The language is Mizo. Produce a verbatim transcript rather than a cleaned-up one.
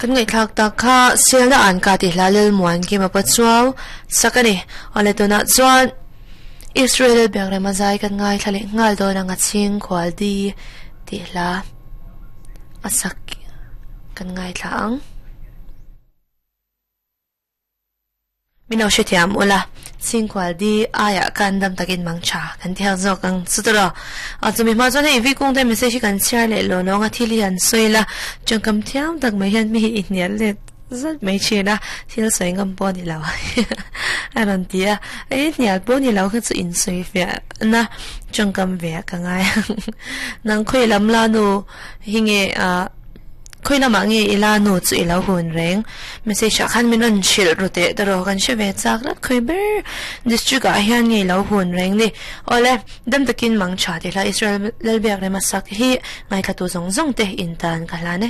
Kan ngai thlak tak kha selna an ka ti hla lel muan ki ma pa chuaw sakani ole tuna chuan Israel biakrema zai kan ngai thlale ngal do na nga ching khwal di ti hla asak kan ngai thla ang mino shethiam ula chingkwal di aya kan dam takin mangcha kan thiak zawk ang chutara a chumi ma chuan hei vi kung te message kan share le lo lo nga thil hian soila changkam thiam tak mai hian mi innial le zat mai thina thil soi ngam pawh ni lo a rawn ti a ei hnial pawh ni lo kha chu in soi fiah na changkam ve ka ngai nang khawi lam la nu hi nge a khoi lama nge ila nu chu ilo hun reng message ah khan min rawn hrilh ru teh taraw kan hre ve chak lat khoi ber district ah hian nge ilo hun reng ni awle dam takin mang tha ti hla Israel lalbiak rema sak hi ngaithla tu zawng zawng te in tan ka hlan e.